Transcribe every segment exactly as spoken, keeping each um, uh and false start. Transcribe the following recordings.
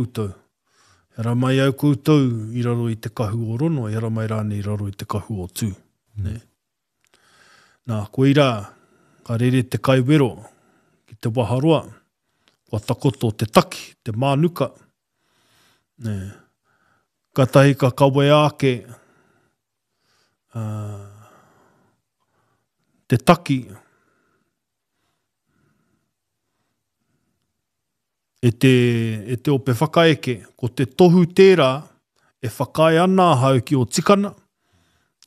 Koutou. E haramai au koutou i raro i te kahu o Rono, e haramai rānei i raro i te kahu o Tū. Mm. Nē. Nā, koirā, ka rere te kaiwero ki te waharoa, kua takoto te taki, te mānuka. Nē. Katahi ka kawea ake uh, te taki e te, e te ope whakaeke, ko te tohu tērā e whakaae ana ahau ki o tikana,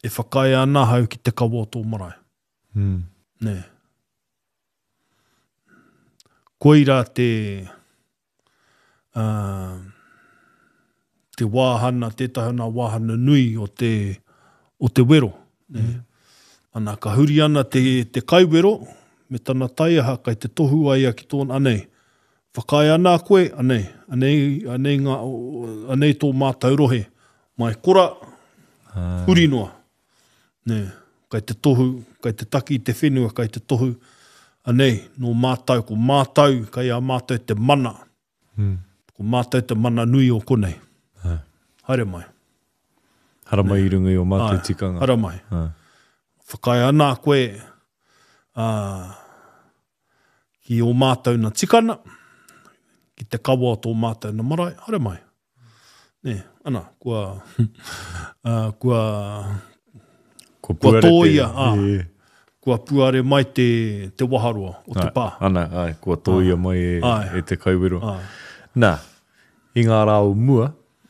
e whakaae ana ahau ki te kawa o tō marae. Mm. Nē. Koirā te, uh, te wāhana, tētahi o nā wāhana nui o te, o te wero. Nē. Mm. Ana, ka huri ana te, te kaiwero, me tana taiaha kai te tohu ai ia ki tōna, anei, whakaae ana koe, anei, anei, anei, ngā, anei tō mātau rohe, mai kora, huri noa. Nē, kai te tohu, kai te taki i te whenua, kai te tohu, anei, nō mātau, ko mātau, kai a mātau te mana. Mm. Ko mātau te mana nui o konei. Ai. Haere mai. Haramai i runga i o mātou Ai, tikanga. Haramai. Ai. Whakaae ana koe, ā, ki o mātau na tikana, ki te kawa o tō mātau na marae, haere mai. Nē, ana, kua, ā, kua, Kua kua puare te- tōia, ā, E, kua puare mai te, te waharoa o te ai, pā. Ana, ai, kua tōia mai e, Ai. e te kaiwero. Ai. Nā, i ngā rā o mua,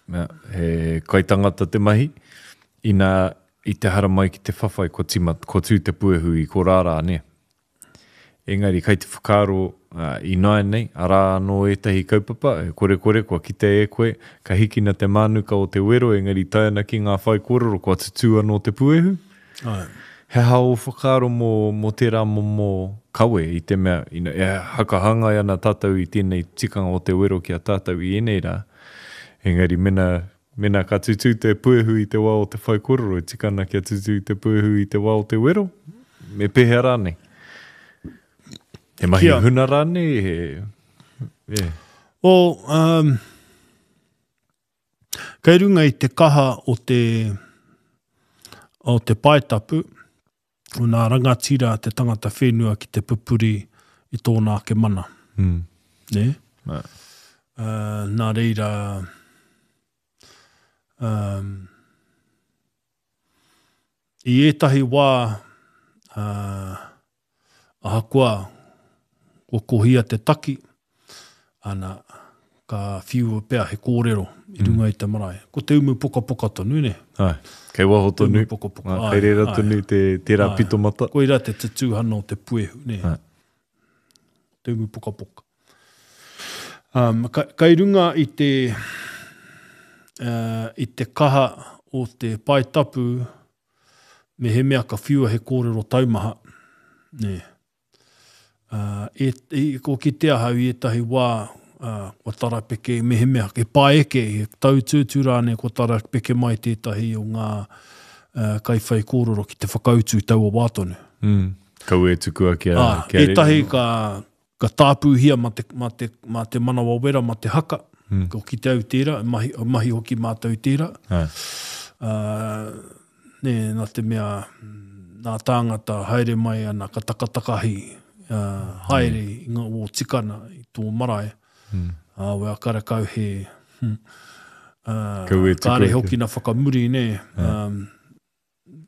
nā, he kaitangata te mahi, ina i te haramai ki te whawhai, kua tima, kua tū te puehu i korārā, nē. Engari, kai te whakaaro uh, i nāianei, arā anō ētahi kaupapa, e kore kore, kua kite e koe, ka hikina te mānuka o te wero, engari tae ana ki ngā whaikōrero, kua tutū anō te puehu. Ai. He aha o whakaaro mō, mō tērā momo kawe i te mea, ina, e hakahangai ana tātou i tēnei tikanga o te wero ki a tātou i ēnei rā. Engari mena, mena ka tutū te puehu i te wā o te whaikōrero, e tika ana kia tutū te puehu i te wā o te wero, me pēhea rānei? He mahi Kia. huna rānei, he... E. O, um, kei runga i te kaha o te, o te paetapu, o nā rangatira te tangata whenua ki te pupuri i tōna ake mana. Mm. Nē? Nā. Uh, nā reira, um, i ētahi wā, uh, ahakoa kua kohia te taki, ana, ka whiua pea he kōrero i runga i te marae. Ko te umu pokapoka tonu, ne? Ai, kei waho Te tonu, umu pokapoka, Ā, ai, kei reira ai. tonu te, tērā Ai. pitomata. Koirā te tutūhana o te puehu, ne? Ai. Te umu pokapoka. Um, ka, kai runga i te, uh, i te kaha o te paetapu, me he mea ka whiua he kōrero taumaha, ne? Uh, e, e, ko ki te ahau i ētahi wā, uh, kua tarapeke, me he mea, he paeke, he tautūtū rānei, kua tarapeke mai tētahi o ngā uh, kaiwhai kōrero ki te whakautu i taua wā tonu. Mm. Kau e tukua kia, Ā, kia rere. ētahi ka, ka tāpūhia ma te, ma te, ma te manawa wera, ma te haka, mm. ko ki te au tērā, mahi, mahi hoki mātou tērā. Ai. Uh, nē, nā te mea, nā tāngata haere mai ana, ka takatakahi uh, haere i ngā o tikana i tō marae. Mm. Ā, wea karakau he, hmm, uh, Kau e tukua kāre kia- hoki na whakamuri, nē. Um,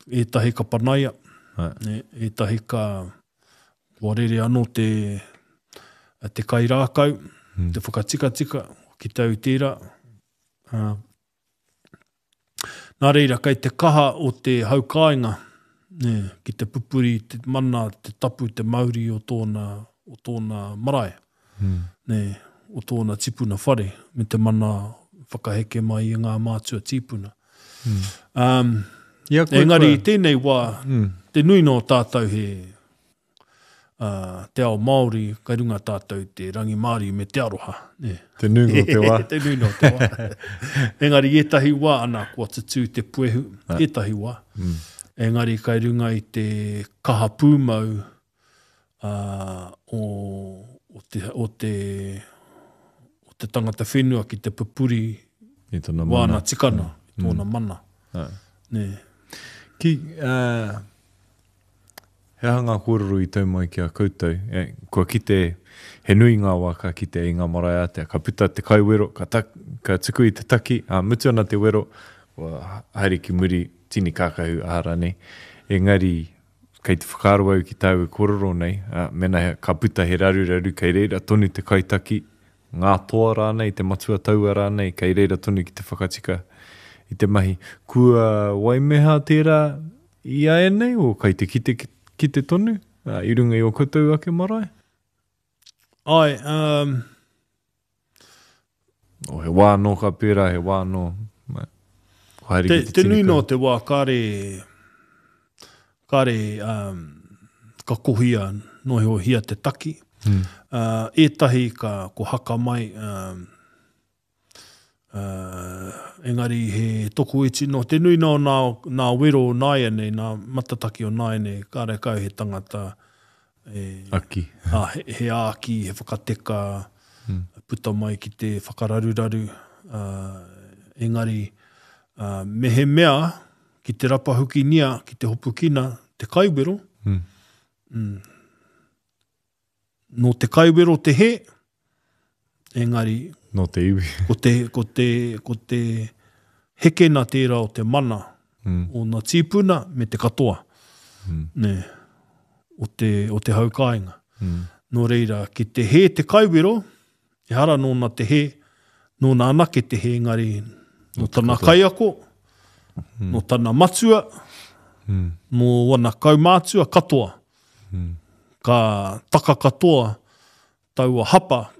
ētahi ka panaia, Ai. nē, ētahi ka kua rere anō te, te kairākau, Mm. te whakatikatika ki te au tērā. Uh, nā reira, kei te kaha o te haukāinga, nē, ki te pupuri, te mana, te tapu, te mauri o tōna, o tōna marae, Mm. nē, o tōna tipuna whare, me te mana whakaheke mai i ngā mātua tīpuna. Mm. Um, Ia koe engari, i kua- tēnei wā, Mm. te nui nō tātou he uh, te ao Māori, kai runga tātou te rangimārie me te aroha. Nē. Te nunga o te wā. Te nui nō te wā. Engari, ētahi wā, ana, kua tutū te puehu, ētahi wā. Mm. Engari, kai runga i te kaha pūmau uh, o, o, te, o, te, o te tangata whenua ki te pupuri I tōna mana. Wāna tikana, i tōna mm. mana. Ai. Nē. Ki, uh, he aha ngā kōrero i tau mai ki a koutou? E, kua kite, he nui ngā wā ka kite i ngā marae ātea. Ka puta te kaiwero, ka, tak, ka tuku i te taki, a, mutu ana te wero, kua haere ki muri, tini kākahu, aha rānei. Engari, kei te whakaaro au ki tāu e kōrero nei, a, mena he, ka puta he raruraru, kei reira tonu te kaitaki, ngā toa rānei, te matua taua rānei, kei reira tonu ki te whakatika i te mahi. Kua waimeha tērā i āianei, o kai te kite, kite tonu, a, i runga i o koutou ake marae? Ai, um... O he wā anō ka pērā, he wā anō. Ko haere Te, ki te te tini nui kau. no te wā kāre, kāre um, ka kohia noheohia te taki. Mm. Uh, ētahi ka ko haka mai, um, uh, engari he tokoiti no te nui no nā, nā wero o nāianei, nā matataki o nāianei, kāre kau he tangata e, Aki. a, he, he āki, he whakateka, Mm. puta mai ki te whakararuraru. Uh, engari, uh, me he mea ki te rapahukinia, ki te hopukina, te kaiwero, Mm. mm, nō te kaiwero te he, engari Nō te iwi. ko te, ko te, ko te hekena tērā o te mana Mm. o nā tīpuna me te katoa, Mm. nē, o te, o te hau kāinga. Mm. Nō reira, ki te he te kaiwero, ehara nōna te he, nōna anake te he, engari nō tana kaiako, Mm. nō tana matua, Mm. nō wana kaumātua katoa. Mm. Ka taka katoa taua hapa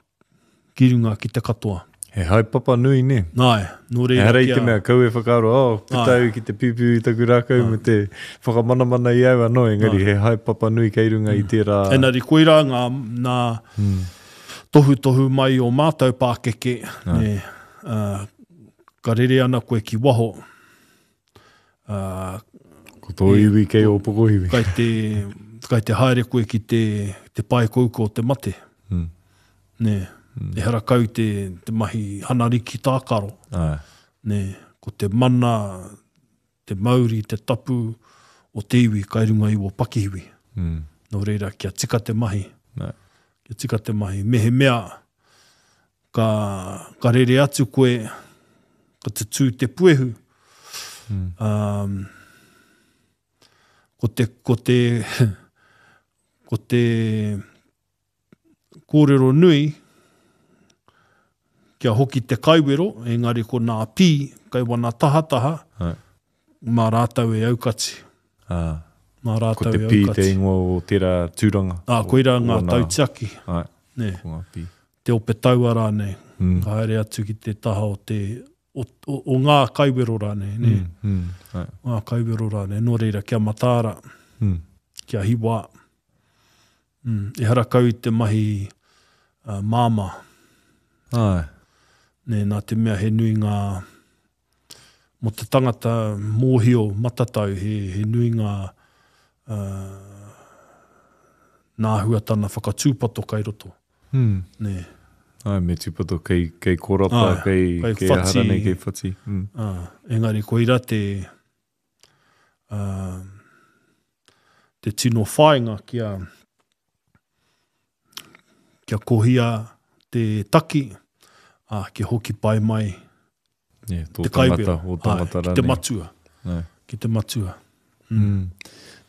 ki runga ki te katoa. He haepapa nui, ne? Nāe, nō reira Ehara i kia... te mea, kau e whakaaro, oh, puta Ai. au ki te piupiu i taku rākau me te whakamanamana i au anō, engari he haepapa nui kei runga i tērā... Engari koirā ngā, nā Mm. tohutohu mai o mātou pākeke, ne, uh, ka rere ana koe ki waho, uh, Ko tō iwi kei o pokohiwi. kai te, kai te haere koe ki te, te pae kouka o te mate. Mm. Ne, ehara kau te, te mahi hanariki tākaro. Ai. Ne, ko te mana, te mauri, te tapu o te iwi kai runga i o pakihiwi. Mm. Nō reira, kia tika te mahi. Nā. Kia tika te mahi. Me he mea, ka, ka rere atu koe, ka te tū te puehu. Mm. Um, ko te, ko te, ko te kōrero nui, kia hoki te kaiwero, engari ko nā pī, kai wana tahataha, Ai. mā rātou e aukati. Ah. Mā Ko rātou te e pī te aukati. ingoa o tērā tūranga. Ā, koirā ngā O nā- tautiaki. Ai, Nē, ko ngā pī. te ope taua rānei. Mm. Ka haere atu ki te taha o te o, o, o ngā kaiwero rānei. Nē, Mm. Mm. Ai. ngā kaiwero rānei. Nō reira, kia mataara, Mm. kia hiwa. Mm. Ehara kau i te mahi uh, māmā. Ai. Nē, nā te mea he nui ngā mō te tangata mōhio matatau, he, he nui ngā uh, nā huatana whakatūpato kai roto. Mm. Nē. Ai, me tūpato kei, kei korapa, Ai, kei, kei kei aha whati. rānei, kei whati. Mm. Ah, engari koira te, uh, te tino whāinga kia, kia kohia te taki, ah, kia hoki pai mai Yeah, tō te kaiwero. tangata, o tangata Ai, ki te rānei. matua. Ai. Ki te matua. Mm.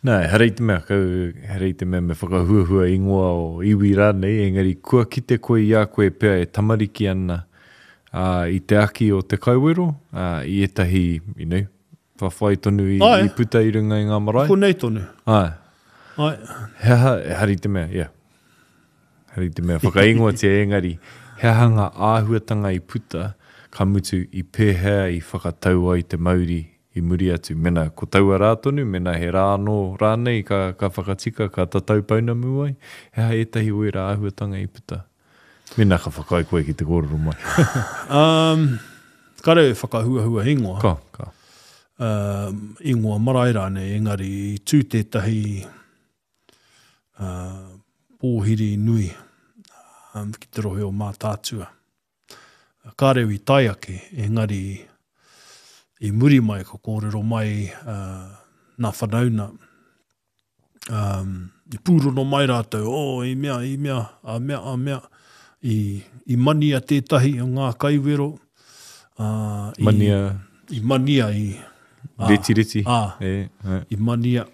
Nā, ehara i te mea, kau, ehara i te mea me whakahuahua ingoa o iwi rānei, engari kua kite koe i a koe pea e tamariki ana uh, i te aki o te kaiwero, uh, i ētahi, you know, whawhai tonu i, Ai. i puta i runga i ngā marae. Konei tonu. Ai. Ai. He aha, ehara i te mea, yeah. Ehara i te mea whakaingoatia engari, he aha ngā āhuatanga i puta, ka mutu i pēhea i whakatau ai te mauri i muri atu. Mena ko taua rā tonu, mena he rā anō rānei ka, ka whakatika, ka tatau pounamu ai, he aha ētahi o ērā āhuatanga i puta. Mena ka whakaae koe ki te kōrero mai. Um, kare e whakahuahua ingoa. Ka, ka. Um, ingoa marae rānei, engari i tū tētahi uh, pōhiri nui um, ki te rohe o Mātaatua. Kāre i tae ake, engari i muri mai, ka kōrero mai uh, nā whanauna. Um, i pūrono mai rātou, oh, i mea, i mea, a mea, a mea, i, i mania tētahi o ngā kaiwero. Uh, i, Mania. I mania, i... A, reti, reti. A, e, e. I mania.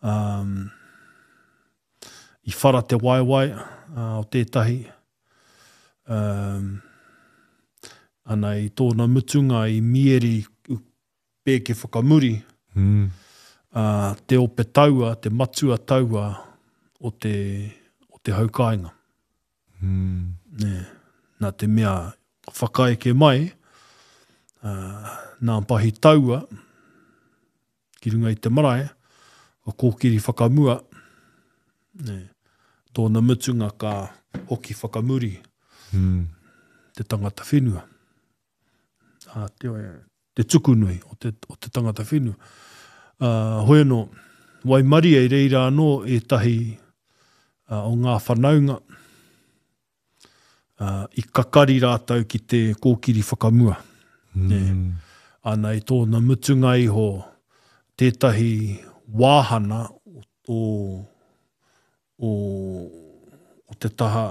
Um, i whara te waewae uh, o tētahi. Um, ana i tōna mutunga i mieri pēke whakamuri, mm. uh, te ope taua, te matua taua o te, o te haukāinga. Mm. Nē, nā te mea whakaeke mai, uh, nā pahi taua, ki runga i te marae, ka kōkiri whakamua, nē, tōna mutunga ka hoki whakamuri mm. te tangata whenua. A, te, te tukunui o te, o te tangata whenua. Uh, hoi anō, waimaria i reira anō ētahi uh, o ngā whanaunga uh, i kakari rātou ki te kōkiri whakamua. Mm. Nē. Ana i tōna mutunga iho tētahi wāhana o, o, o te taha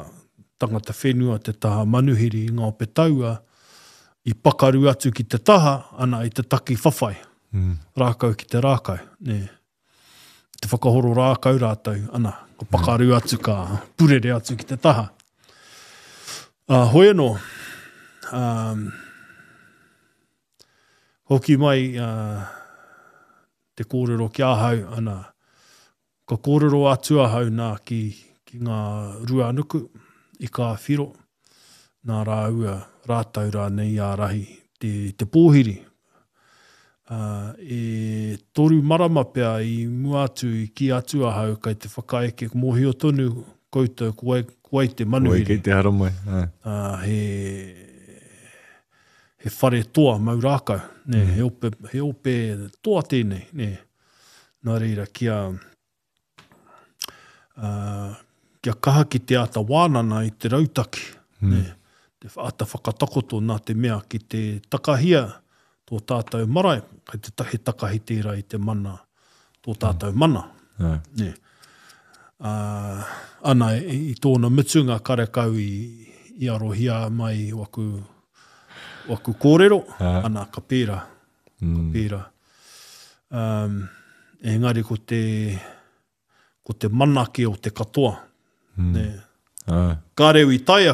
tangata whenua, te taha manuhiri i ngā ope taua, i pakaru atu ki te taha, ana i te taki whawhai, mm. rākau ki te rākau. Nē. Te whakahoro rākau rātou, ana, ka pakaru atu, ka purere atu ki te taha. Uh, hoi anō, um, hoki mai uh, te kōrero ki ahau, ana, ka kōrero atu ahau nā ki, ki ngā ruanuku i kā whiro, nā rāua, rātou rānei ārahi te, te pōhiri. Uh, e toru marama pea i mua atu, i ki atu ahau, kai te whakaeke mōhio tonu koutou ko wai, ko wai te manuhiri. Ko wai kei te haramai. Uh, he, he whare toa mau rākau. Nē, mm. he, ope, he ope toa tēnei. Nē. Nā reira, kia, uh, kia kaha ki te āta wānana i te rautaki. Mm. Nē. Te āta whakatakoto nā te mea ki te takahia tō tātou marae, kai te tahi takahi tērā i te mana, tō tātou mana. Mm. Nē. Uh, ana, i, i tōna mutunga karekau i, i arohia mai waku, waku kōrero, uh. ana, ka pērā, mm. ka pērā. Um, engari ko te, ko te manake o te katoa. Mm. Nē. Uh. Kāreu i tae,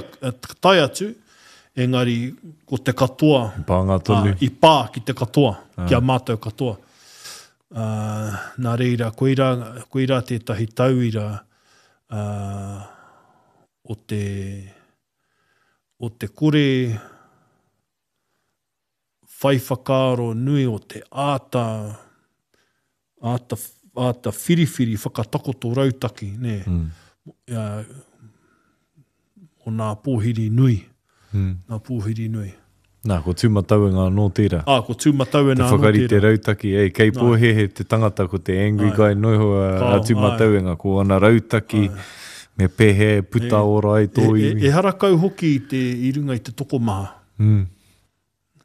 tae atu, engari ko te katoa, pānga tonu. Uh, i pā ki te katoa, uh. ki a mātou katoa. Uh, nā reira, koirā, koirā tētahi tauira uh, o te, o te kore whai whakaaro nui o te āta, āta, āta whiriwhiri whakatakoto rautaki, nē. Mm. Uh, o nā pōhiri nui. Mm. Nā pōhiri nui. Nā, ko Tūmatauenga anō tērā. Ā, ko Tūmatauenga Te anō whakarite tērā. rautaki, ei, kei pōhehe te tangata ko te angry Ai. guy noiho a, a Kao, Tūmatauenga, ko ana rautaki, me pēhea e puta E, ora ai tō E, e, iwi. e harakau hoki i, te, i runga i te tokomaha. Mm.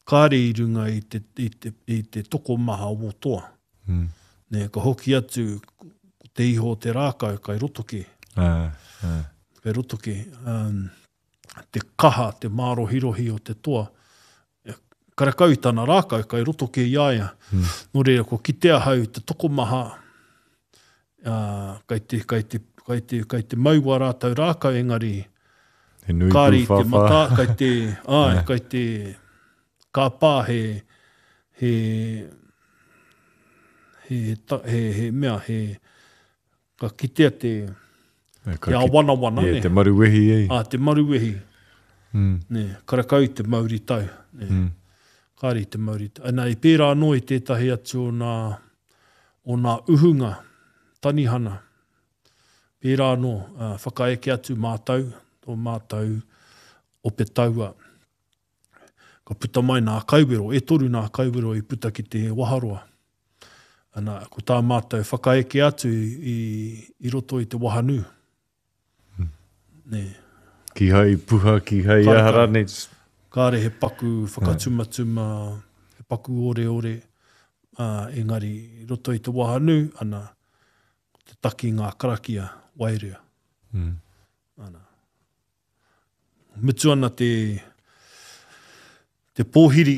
Kāre i runga i te, i te, i te tokomaha o toa. Mm. Nē, ka hoki atu ko te iho o te rākau kai roto ki. Ah, ah. Kai roto ki. Um, te kaha, te mārohirohi o te toa. Karekau i tana rākau, kai roto ki i a ia. Mm. Nō reira, ko kite ahau te tokomaha, uh, kai te, kai te, kai te, kai te maua rātou rākau, engari He nui kāri te pūwhāwhā. matā, kai te, ai, kai te kāpā he, he, he, ta, he, he mea, he, ka kitea te, E, ka te ki- āwanawana, Yeah, ne? te maruwehi ei. Ā, te maruwehi, Mm. ne, karekau i te mauri tau, ne. Mm. Kāre i te mauri tau. Ana, i pērā anō i tētahi atu o nā, o nā uhunga, tanihana. Pērā anō, uh, whakaeke atu mātou, tō mātou ope taua. Ka puta mai nā kaiwero, e toru nā kaiwero i puta ki te waharoa. Ana, ko tā mātou whakaeke atu i, i, i roto i te wahanū. Mm. Nē. Kihai puha, kihai aha rānei. Kāre he paku whakatumatuma, he paku oreore, uh, engari i roto i te wahanu, ana, ko te taki ngā karakia wairea. Mm. Ana. Mutu ana te, te pōhiri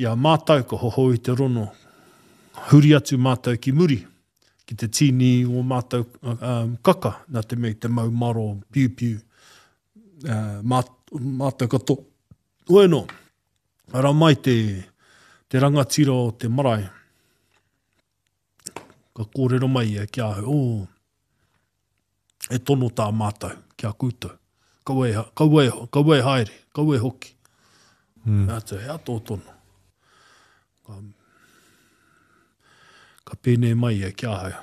i a mātou ka hohou i te rono, huri atu mātou ki muri, ki te tīni o mātou um, kaka, nā te mea te mau maro piupiu, uh, mā, mātou katoa. Hoi anō, ara mai te, te rangatira o te marae, ka kōrero mai ia ki ahau, oh, e tono tā mātou ki a koutou. Kaua e, kaua e, kaua e haere, kaua e hoki. Mm. Atu, hea tō tono. Ka, ka pēnei mai ia ki ahau.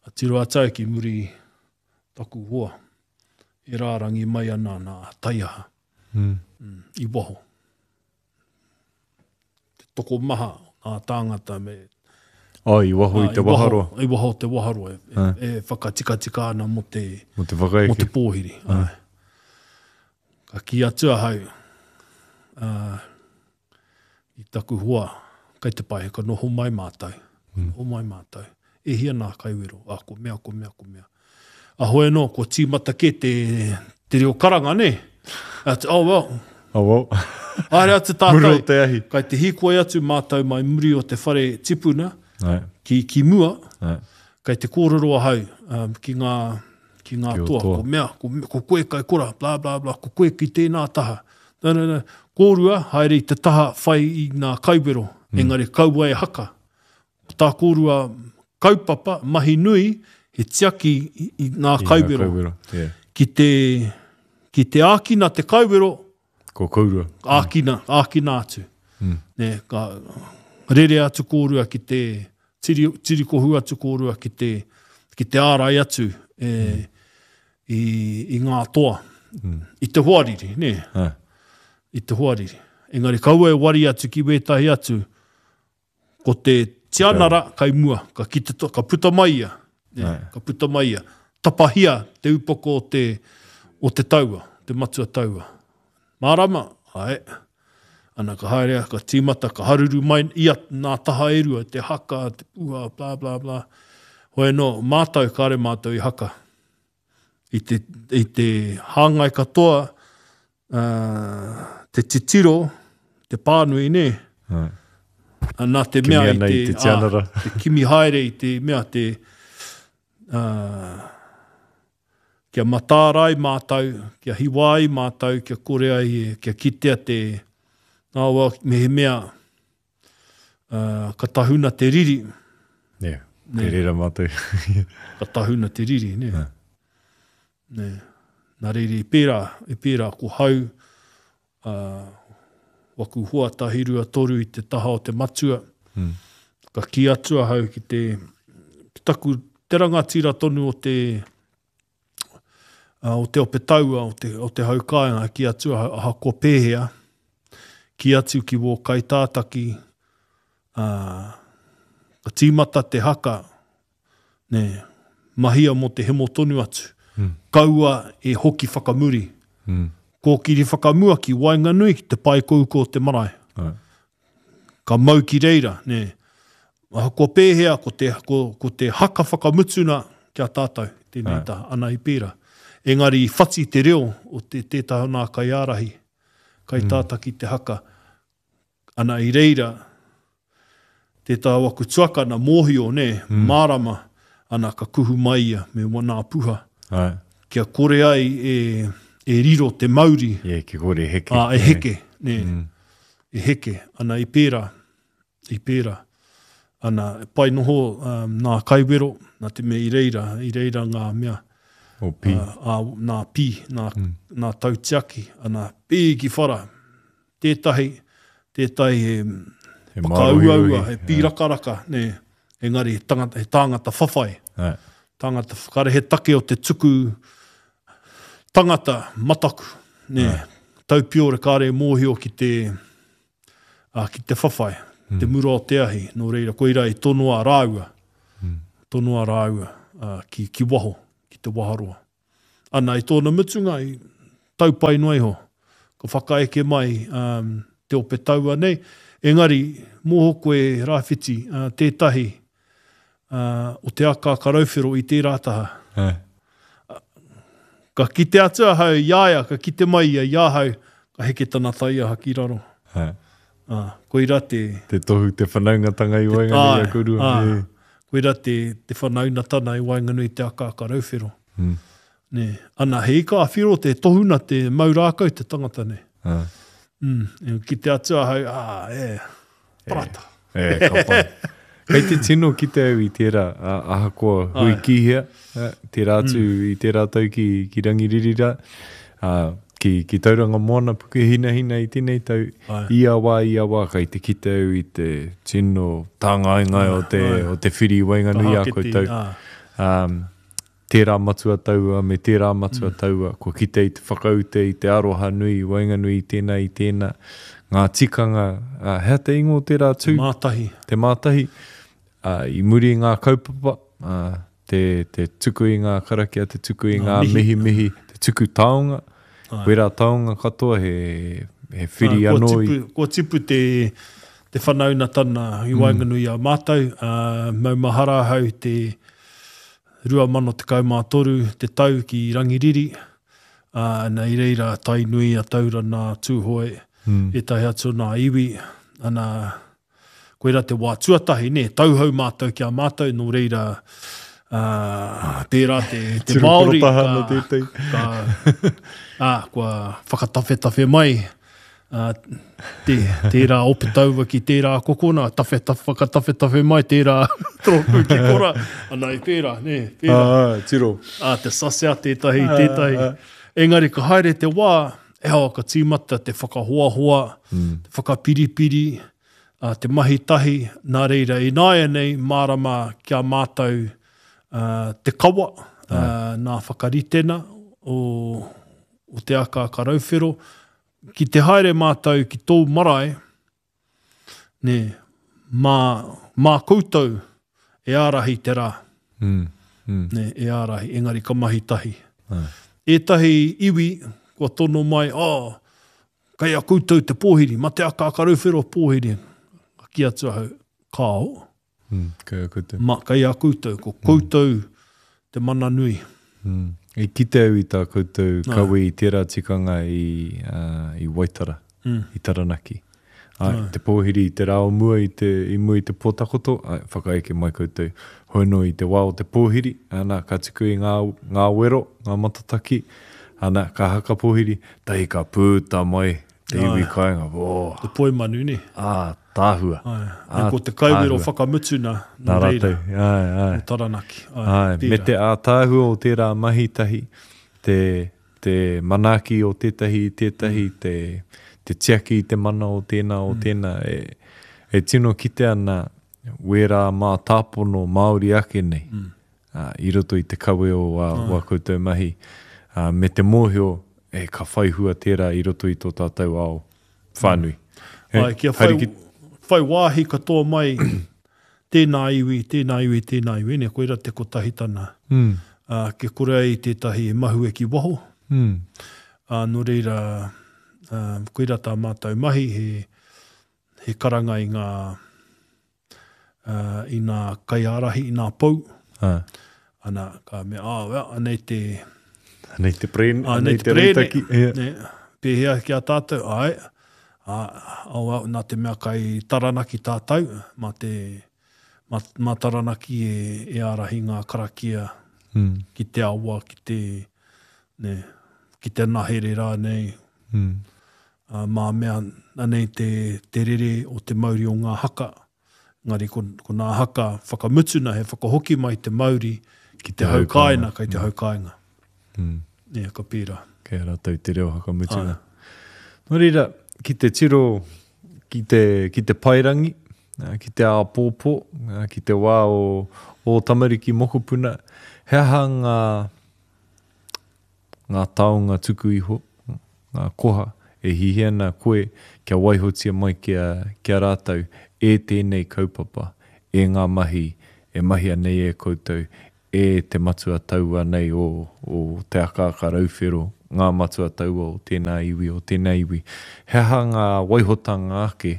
A tiro atu au ki muri taku hoa, e rārangi mai ana nā taiaha. Mm. Mm, i waho. Te tokomaha ngā tāngata me... Oh, i waho i te waharoa. I waho te waharoa, e, e, e whakatikatika ana mō te, mō te whakaeke. Mō te pōhiri. Ai. Ka kī atu ahau, uh, i taku hoa, kai te pai, ka noho mai mātou. Mm. Noho mai mātou. E hia nā kaiwero, ah, ko mea, ko mea, ko mea. A hoi anō, ko tīmata ke te, te reo karanga, ne? Atu, oh well. Oh well. Haere atu tātou. Muro te ahi. Kai te hīkoi atu mātou mai muri o te whare tipuna, Ai. ki, ki mua, Ai. kai te kōrero ahau um, ki ngā, ki ngā Ki o toa. toa. Ko mea, ko, ko koe kai kora, bla, bla, bla, ko koe ki tēnā taha. No, no, no. Kōrua, haere i te taha whai i ngā kaiwero, Mm. engari kaua e haka. Ko tā kōrua kaupapa, mahi nui, he tiaki i, i ngā I ngā kaiwero. kaiwero. Yeah. Ki te, ki te ākina te kaiwero, Ko kourua. ākina, ākina atu. Mm. Ne, ka rere atu kōrua ki te, tiri, tirikohu atu kōrua ki te, ki te ārai atu e, Mm. i, i ngā toa. Mm. I te hoariri, ne? Ah. I te hoariri. Engari kaua e wari atu ki wētahi atu, ko te tianara kai mua, ka, kite to, ka puta mai ia. Ne? Ai. Ka puta mai ia. Tapahia te upoko o te, o te taua, te matua taua. Mārama, ai. Ana ka haere, ka tīmata, ka haruru mai ia nā taha e rua, te haka, te puha, bla, bla, bla. Hoi anō, mātou, kāre mātou i haka. I te, i te hāngai katoa, uh, te titiro, te pānui, nē. Ai. Nā te Kimi mea i ana te, i te tianara. ā, te kimi haere i te mea, te, uh, kia matārai mātou, kia hiwa ai mātou, kia kore ai, kia kitea te, nā wā, me he mea, uh, ka tahuna te riri. Yeah. Nē. Te rera mātou. Ka tahuna te riri, nē. Ai. Nē. Nā reira i pērā, i pērā ko hau, uh, waku hoa tahi rua toru i te taha o te matua. Mm. Ka kī atu ahau ki te, ki taku te rangatira tonu o te, uh, o te ope taua, o te, o te hau kāinga, ki atu ahau, ahakoa pēhea, ki atu ki wō kaitātaki, uh, ka tīmata te haka, nē, mahia mō te hemo tonu atu. Mm. Kaua e hoki whakamuri. Mm. Kōkiri whakamua ki waenganui ki te pae kouko o te marae. Ai. Ka mau ki reira, nē. Ahakoa pēhea, ko te, ko, ko te haka whakamutuna ki a tātou, tēnei Ai. tā, ana i pērā. Engari i whati te reo o te tētahi o nā kaiārahi, kai Mm. tātaki te haka. Ana i reira, tētahi waku tuakana mōhio, nē, Mm. mārama, ana ka kuhu mai ia me wana puha. Ai. Kia kore ai e, e riro te mauri. Yeah, kia kore e heke. Ā, e heke, nē. Mm. E heke, ana i pērā, i pērā. Ana, pai noho um, nā kaiwero, nā te mea i reira, i reira ngā mea. O pī. Ā, ā, nā pī, nā, Mm. nā tautiaki, ana pī ki whara. Tētahi, tētahi he He whakauaua, mārohirohi. he pīrakaraka, nē. Engari, he tangata, he tāngata whawhai. Ai. Tāngata whakare, he take o te tuku tangata mataku, nē. Ai. Taupiore kāre mōhio ki te, ā, ki te whawhai, Mm. te mura o te ahi. Nō reira, koira i tonoa rāua, Mm. tonoa rāua, ā, ki, ki waho, ki ki te waharoa. Ana, i tōna mutunga, i tau pai noa iho, ka whakaeke mai um, te ope taua nei, engari, mōho koe Rāwhiti, uh, tētahi uh, o te akaaka rauwhero i tērā taha. Ā. Ka kite atu ahau i a ia, ka kite mai ia i ahau, ka heke tana taiaha ki raro. Ā. Ā, koirā te... Te tohu, te whanaungatanga i waenganui i a kōrua. Ā, koirā te, te whanaungatanga i waenganui i te akaaka rauwhero. Mm. Nē. Ana, he ika a whiro te tohuna te mau rākau te tangata nei. Ā. Mm, e kite atu ahau, ā, e, parata. E, e, ka pai. Kei te tino kite au i tērā, a, ahakoa hui ki hea, a, tērā atu mm. i tērā tau ki, ki Rangiriri rā, a, ki, ki Tauranga Moana Pukehinahina i tēnei tau, Ai. ia wā, ia wā, kei te kite au i te tino tāngaengae o te, o te whiri i waenganui i a koutou. Ā. Um, tērā matua taua me tērā matua mm. taua, kua kite i te whakaute, i te aroha nui, i waenganui i tēnā, i tēnā, ngā tikanga, uh, hea te ingoa o tērā tū? Te mātahi. Te mātahi, uh, i muri i ngā kaupapa, uh, te, te tuku i ngā karakia, te tuku i ngā mihi mihi, te tuku taonga, Ai. wērā taonga katoa he, he whiri Ā, kua anō tipu, i... Kua tipu te, te whanaunatana i waenganui i a mātou, uh, maumahara ahau te rua mano tekau mā toru te tau ki Rangiriri, uh, na i reira Tainui a Taurana, Tūhoe, mm. ētahi atu nā iwi, ana, koirā te wā tuatahi, ne, tauhou mātou ki a mātou, nō reira, uh, tērā te, te Tiro Māori, korotaha ka, ana tētahi. ka, ā, kua whakatawhetawhe mai, uh, te, tērā ope taua ki tērā kokona, tawhe, tawhe, whakatawhetawhe mai tērā toropu ki kora, ana i pērā, ne, pērā. Ah, tiro. Ā, te sasea tētahi, tētahi. Engari ka haere te wā, e hoa, ka tīmata te whakahoahoa, Mm. te whakapiripiri, ā, te mahi tahi, nā reira ināianei mārama kia mātou uh, te kawa, uh, nā whakaritena o, o te akaaka rauwhero. Ki te haere mātou ki tōu marae, nē, mā, mā koutou e ārahi te rā. Mm. Mm. Nē, e ārahi, engari ka mahi tahi. Ai. Ētahi iwi kua tono mai, oh, kei a koutou te pōhiri, ma te akaaka rauwhero pōhiri. Ka kī atu ahau, kāo, Mm. Kei a koutou. ma, kei a koutou, ko koutou te mana nui. Mm. I kite au i tā koutou kawe i tērā tikanga i, uh, i Waitara, Mm. i Taranaki. Ai, te pōhiri i te rā o mua i, te, i mua i te pōtakoto, ai, whakaeke mai koutou. Hoi anō i te wā o te pōhiri, ana, ka tuku i ngā, ngā wero, ngā matataki, ana, ka haka pōhiri, tahi ka pūta mai te iwi kāinga. Oh, Te poi manu, ne? ā, tāhua. Ai. Ā, E ko te kaiwero tāhua. whakamutuna Nā nō reira, rātou. Ai, ai. o Taranaki. Ai, Ai, me pērā. te ātaahua o tērā mahi tahi, te, te manaaki o tētahi, tētahi, te, te tiaki i te mana o tēnā, o tēnā, e, e tino kite ana wērā mātāpono Māori ake nei, mm. uh, i roto i te kawe o wā, wā koutou mahi, uh, me te mōhio, e, ka whai hua tērā i roto i tō tātou ao whānui. E, Ai, kia whai, haere ki- whai wāhi katoa mai tēnā iwi, tēnā iwi, tēnā iwi, ne, koira te kotahitana. Mm, Uh, kia kore ai tētahi e mahue ki waho. mm, Uh, nō reira, uh, koira tā mātou mahi, he, he karanga i ngā, uh, i ngā kaiārahi, i ngā pou. ah. Ana, ka mea, ah, well, anei te, Anei te prēne, Ah, anei nei te te prēne. rautaki. Yeah. Ne, pēhea ki a tātou, ai, a, oh, well, nā te mea kai Taranaki tātou, mā te, mā, mā Taranaki e, e ārahi ngā karakia Mm, ki te awa, ki te, ne, ki te nahere rānei, mm. uh, mā mea, anei te, te rere o te mauri o ngā haka. Engari ko, ko ngā haka whakamutuna he whakahoki mai te mauri ki te hau haukaina, kai te haukainga. Mm. Ne, ka pērā. Kei a rātou te reo whakamutunga. Nō reira, ki te tiro, ki te, ki te paerangi, ā, ki te āpōpō, ā, ki te wā o, o tamariki mokopuna, he aha ngā, ngā taonga tuku iho, ngā koha, e hihi ana koe kia waihotia mai ki a, ki a rātou e tēnei kaupapa, e ngā mahi, e mahia nei e koutou, e e te matua taua nei o, o Te Akaaka Rauwhero, ngā matua taua o tēnā iwi, o tēnā iwi. He aha ngā waihotanga ake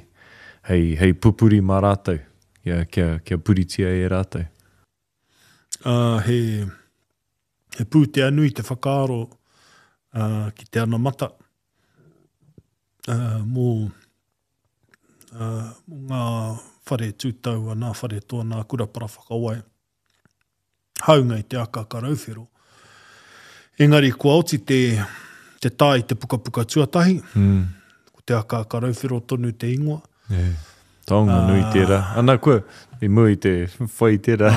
hei, hei pupuri mā rātou, kia, kia, kia puritia e rātou? Uh, he, he pūtea nui te whakaaro uh, ki te anamata uh, mō, uh, mō ngā whare tūtaua, nā whare toa, nā kura para whakawai, haunga i Te Akaaka Rauwhero. Engari kua oti te, te tā i te pukapuka tuatahi, mm. ko Te Akaaka Rauwhero tonu te ingoa. Yeah. Taonga nui tērā. Ana kua, i mua i te whai tērā,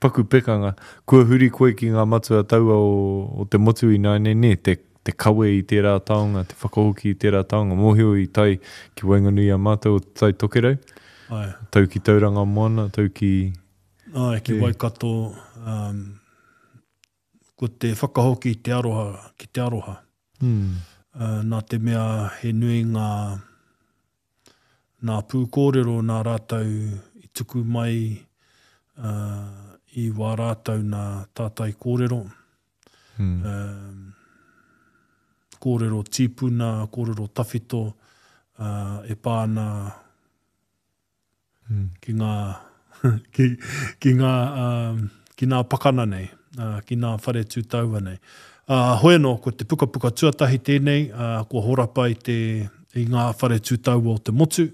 paku pekanga, kua huri koe ki ngā matua taua o, o te motu i nāianei, nē, te, te kawe i tērā taonga, te whakahoki i tērā taonga. Mōhio i tae ki waenganui i a mātou o Te Tai Tokerau, Ai. tau ki Tauranga Moana, tau ki... Ai, ki Waikato, um, ko te whakahoki i te aroha, ki te aroha. Mm. Uh, nā te mea he nui ngā, nā pūkōrero nā rātou i tuku mai uh, i wā rātou nā tātai kōrero. Mm. Um, kōrero tīpuna, kōrero tawhito, uh, e pā ana mm. ki ngā, ki, ki ngā, um, ki ngā pakana nei, uh, ki ngā whare tūtaua nei. Uh, hoi anō, ko te pukapuka tuatahi tēnei, uh, kua horapa i, te, i ngā whare tūtaua o te motu,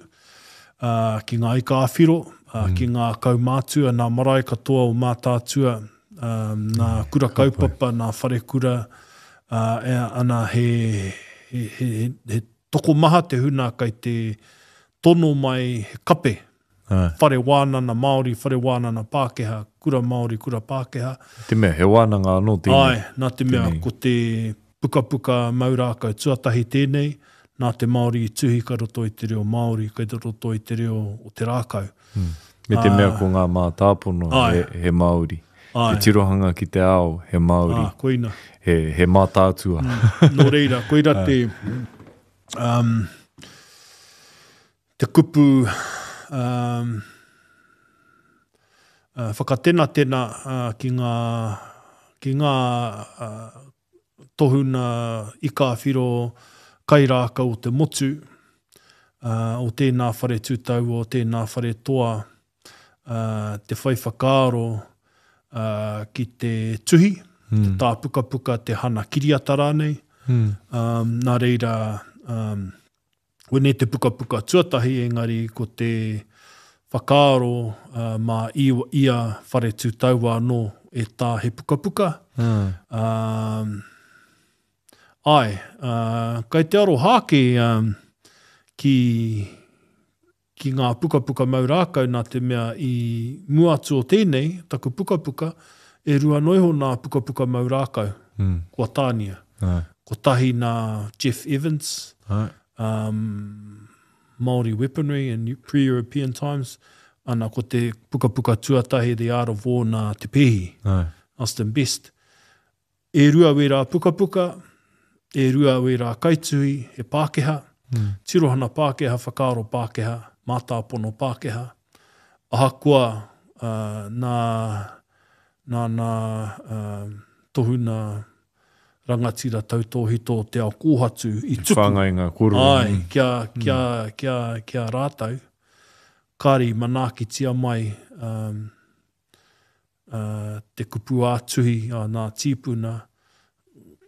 uh, ki ngā ika āwhiro, uh, mm. ki ngā kaumātua, nā marae katoa o Mātaatua, um, nā kura kaupapa, nā wharekura, uh, e, ana he, he, he, he tokomaha te huna kai te tono mai he kape. Ai. Whare wānana Māori, whare wānana Pākehā, kura Māori, kura Pākehā. Te mea, he wānanga anō tēnei. Ai, nā te mea, Tēnei. ko te pukapuka mau rākau tuatahi tēnei, nā te Māori i tuhi kai roto i te reo Māori, kai roto i te reo o te rākau. Mm. Me te mea ko ngā mātāpono Ai. he, he Māori. Ai. Te tirohanga ki te ao, he Māori. Ah, koina. He, he mātātua. Mm. Nō reira, koira te, um, te kupu um, uh, whakatenatena uh, ki ngā, ki ngā uh, tohuna ika whiro kai rākau o te motu, uh, o tēnā whare tūtaua, o tēnā whare toa, uh, te whai whakaaro uh, ki te tuhi, mm. te tāpukapuka, te hana kiriata rānei. Mm. Um, nā reira, um, wene te pukapuka tuatahi, engari ko te whakaaro uh, mā iwa, ia whare tūtaua anō e tā he pukapuka. Mm. Um, ai, uh, kai te aroha ake um, ki, ki ngā pukapuka mau rākau nā te mea i mua atu o tēnei, taku pukapuka, e rua noiho nā pukapuka mau rākau, Mm. kua tānia. Ai. Kotahi nā Jeff Evans, Ai. um, Māori Weaponry in Pre-European Times, ana ko te pukapuka tuatahi The Art of War nā Te Pehi, Ai. Austin Best. E rua wērā pukapuka, e rua wērā kaituhi, he Pākehā, Mm. tirohana Pākehā, whakaaro Pākehā, mātāpono Pākehā. Ahakoa uh, nā, nā, nā uh, tohuna rangatira tautōhito o te ao kōhatu i tuku. Whāngai ngā kōrero. Ai, kia, kia, kia, kia rātou, kāri manaakitia mai um, uh, te kupu ā-tuhi a nā tīpuna,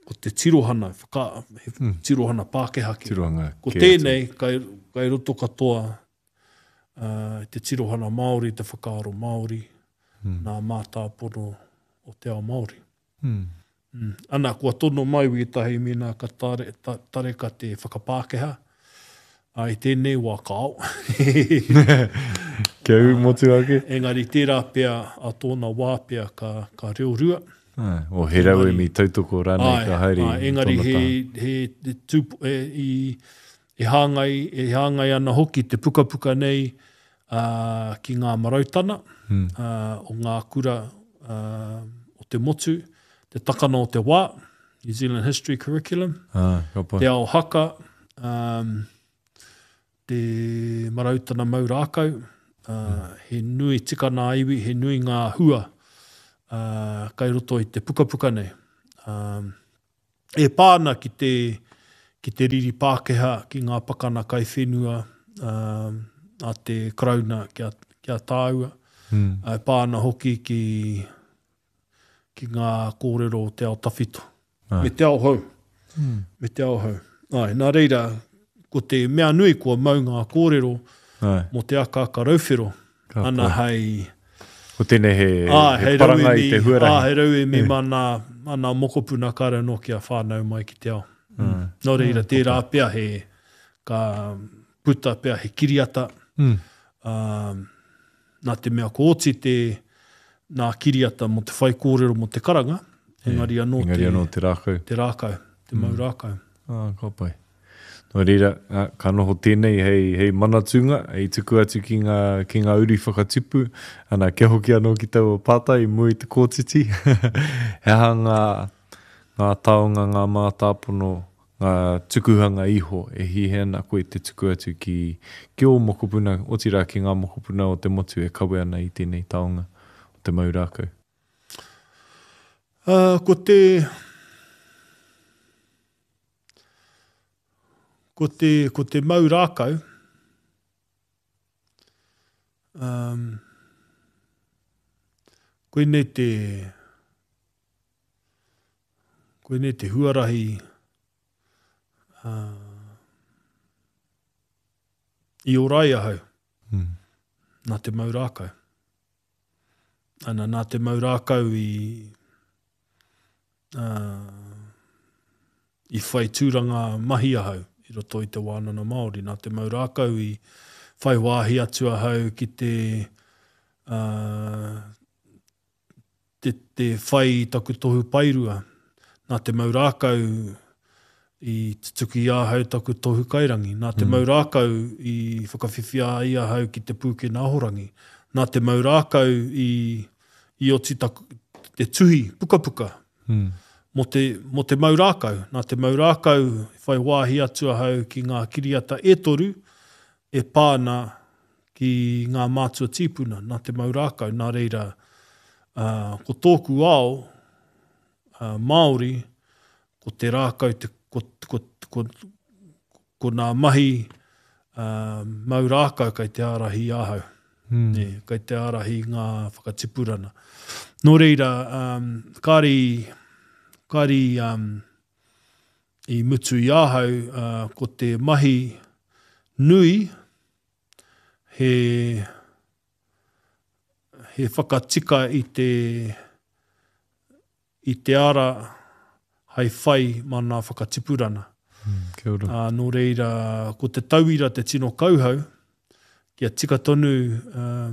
ko te tirohana, whaka, he Mm. tirohana Pākehā ki. Tirohanga Ko kē atu. tēnei, kai, kai roto katoa uh, te tirohana Māori, te whakaaro Māori, Mm. nā mātāpono o te ao Māori. Mm. Mm. Ana, kua tono mai wētahi mēnā ka tare, ta, tareka te whakapākehā, a i tēnei wā kāo. Kia ū motu ake. Engari tērā pea, a tōna wā pea ka, ka reo rua. Ai, o he rauemi tautoko rānei Ai, ka haere ai, engari tōna he, taha. he, he, tūpu, e, i, e, hāngai, e hāngai ana hoki te pukapuka nei uh, ki ngā marautana Mm. uh, o ngā kura uh, o te motu, te takana o te wā, New Zealand History Curriculum, Ah, ka pai. te ao haka, um, te marautana mau rākau, uh, he nui tikana iwi, he nui ngā hua uh, kai roto i te pukapuka nei. Um, e pā ana ki te, ki te riri Pākehā, ki ngā pakana kai whenua um, a te Karauna ki a, ki a tāua. Mm. E pā ana hoki ki, ki ngā kōrero o te ao tawhito. Ai. Me te ao hou. Mm. Me te ao hou. Ai, nā reira, ko te mea nui kua mau ngā kōrero Ai. mō te akaaka rauwhero. Ka Ana pai. hei... Ko tēnei he, Ā, he paranga i te huarahi. Ā, hei rauemi mā nā, mā nā mokopuna kāre anō kia whānau mai ki te ao. Mm. Nō reira, tērā pea he, ka puta pea he kiriata. Mm. Um, nā te mea ko oti te nā kiriata mō te whai kōrero mō te karanga, engari anō Engari te, anō te rākau. te rākau, te mau rākau. Ah, ka pai. Nō reira, ah, ka noho tēnei hei, hei manatūnga, hei tuku atu ki ngā, ki ngā uri whakatipu. Ana, kia hoki anō ki taua pātai i mua i te kōtiti. He aha ngā, ngā taonga, ngā mātāpono, ngā tukuhanga iho e hiahia ana koe te tuku atu ki, ki ō mokopuna, otirā ki ngā mokopuna o te motu e kawe ana i tēnei taonga o te mau rākau. Uh, ko te... Ko te, ko te mau rākau, um, koinei te, koinei te huarahi uh, i ora ai ahau, Mm. nā te mau rākau. Ana, nā te mau rākau i, uh, i whai tūranga mahi ahau i roto i te wānanga Māori. Nā te mau rākau i whai wāhi atu ahau ki te, uh, te, te whai i taku tohu paerua. Nā te mau rākau i tutuki i ahau taku tohu kairangi. Nā te Mm. mau rākau i whakawhiwhia ai ahau ki te pūkena ahorangi. Nā te mau rākau i, i oti taku, te tuhi pukapuka Mm. mō te, mō te mau rākau. Nā te mau rākau whai wāhi atu ahau ki ngā kiriata e toru e pā ana ki ngā mātua tīpuna. Nā te mau rākau, nā reira, uh, ko tōku ao uh, Māori, ko te rākau, te, ko, ko, ko, ko nā mahi uh, mau rākau kai te ārahi ahau. Mm. Nē, kai te ārahi ngā whakatipurana. Nō reira, um, kāri, kāri um, i mutu i ahau, uh, ko te mahi nui he, he whakatika i te, i te ara hai whai mā nā whakatipurana. Mm. Kia ora. Ā, nō reira, ko te tauira te tino kauhau, kia tika tonu uh,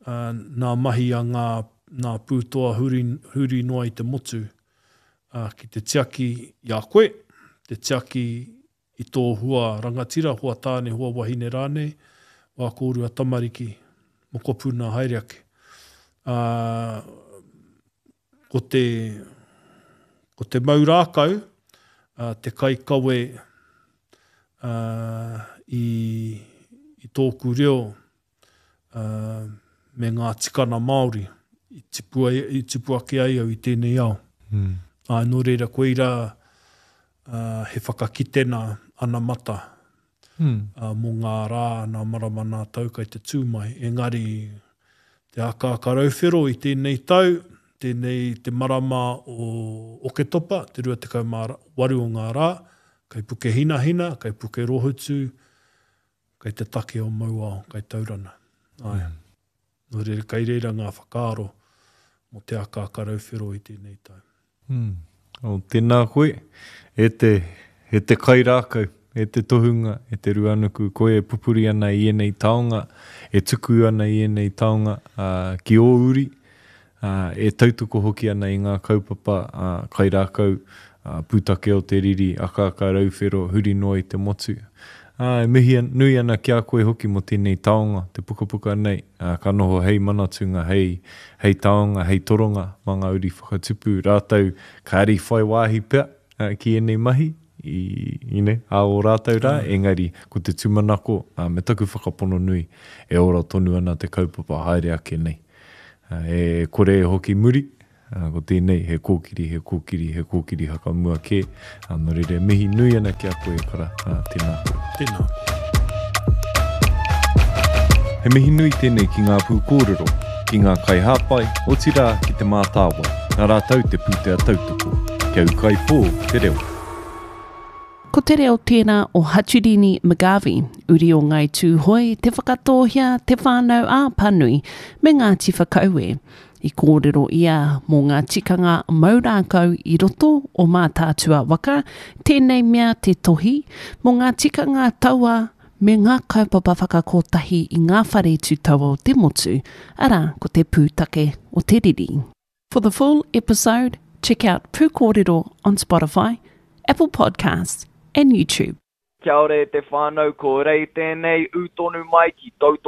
uh, nā mahi a ngā, nā pūtoa huri, huri noa i te motu, uh, ki te tiaki i a koe, te tiaki i tō hua rangatira, hua tāne, hua wahine rānei, wā kōrua tamariki, mokopuna haere ake. Uh, ko te, ko te mau rākau, uh, te kaikawe uh, i, i tōku reo uh, me ngā tikana Māori i tipu, ai, i tipu ake ai au i tēnei ao. Mm. Ā, nō reira, koira uh, he whakakitena anamata Mm. uh, mō ngā rā, nā marama nā tau kai te tū mai. Engari, te akaaka rauwhero i tēnei tau, tēnei te marama o Oketopa, te rua tekau mā waru o ngā rā, kai Puke Hinahina, kai Puke Rohutu, kai te take o Mauao, kai Taurana. Ai. Mm. Nō reira, kai reira ngā whakaaro mō te akaaka rauwhero i tēnei tau. Mm. O, tēnā koe, e te, e te kairākau, e te tohunga, e te ruanuku, koe e pupuri ana i ēnei taonga, e tuku ana i ēnei taonga uh, ki ō uri, uh, e tautoko hoki ana i ngā kaupapa uh, kairākau, uh, pūtake o te riri, akaaka rauwhero, huri noa i te motu. Uh, e mihi nui ana ki a koe hoki mō tēnei taonga, te pukapuka nei, uh, ka noho hei manatūnga, hei, hei taonga, hei toronga, mā ngā uri whakatupu, rātou kāri whai wāhi pea uh, ki ēnei mahi, i, i ne, a o rātou rā, engari ko te tūmanako uh, me taku whakapono nui e ora tonu ana te kaupapa haere ake nei. E kore e hoki muri, ko tēnei he kōkiri, he kōkiri, he kōkiri hakamua kē. Nō reira e mihi nui ana ki a koe e kara, tēnā koe. Tēnā koe. He mihi nui tēnei ki ngā pūkōrero, ki ngā kaihāpai, otirā ki Te Mātāwai, nā rātou te pūtea tautoko. Kia ūkaipō te reo. Ko te reo tērā o Haturini McGarvey, uri o Ngāi Tūhoe, Te Whakatōhea, Te Whānau ā Pānui, me Ngāti Whakaue. I kōrero ia mō ngā tikanga mau rākau i roto o Mātaatua waka, tēnei mea te tohi, mō ngā tikanga taua me ngā kaupapa whakakotahi i ngā whare tū taua o te motu, arā, ko te pūtake o te riri. For the full episode, check out Pūkōrero on Spotify, Apple Podcasts and YouTube. Kia ora e te whānau, ko Rei tēnei, ū tonu mai ki Tautoko.